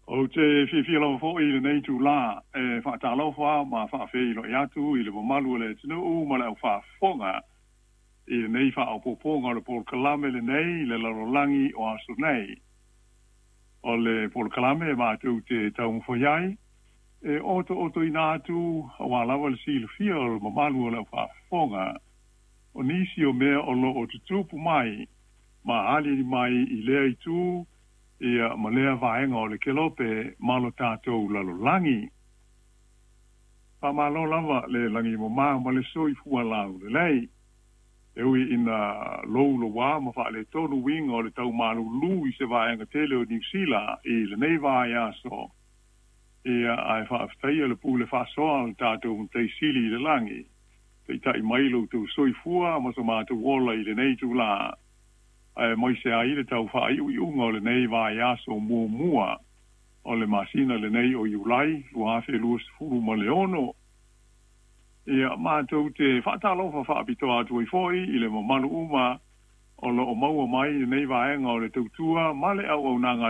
Ou te fiafia lava foi i lenei itulā e faatalofa ma faafeiloai atu i le mamalu o le atunuu ma le aufaafofoga i lenei faaopoopoga o le polokalame lenei i le lalolagi o aso nei. O le polokalame e matou te taumafai ai e otootoina atu aua lava le silafia o le mamalu o le aufaafofoga o nisi o mea o lo o tutupu mai ma aliali mai i lea itu ia ma lea vaega o le kelope ma lo tatou lalolagi. Faamalo lava le lagi e mama ma le soifua laulelei. E ui ina louloua ma faaletonu uiga o le tau malulu i se vaega tele o Niu Sila i lenei vaiaso, ia ae faafetaia le pule faasoa a le tatou Matai Sili i le lagi, taitai mai lo outou soifua ma so matou ola i lenei itulā, aemaise ai le tau faaiuiuga o lenei vaiaso muamua o le masina lenei o Iulai 2026. Ia, matou te faatalofa faapitoa atu ai foi i le mamalu uma o lo o maua mai lenei vaega o le tautua ma le auaunaga a le.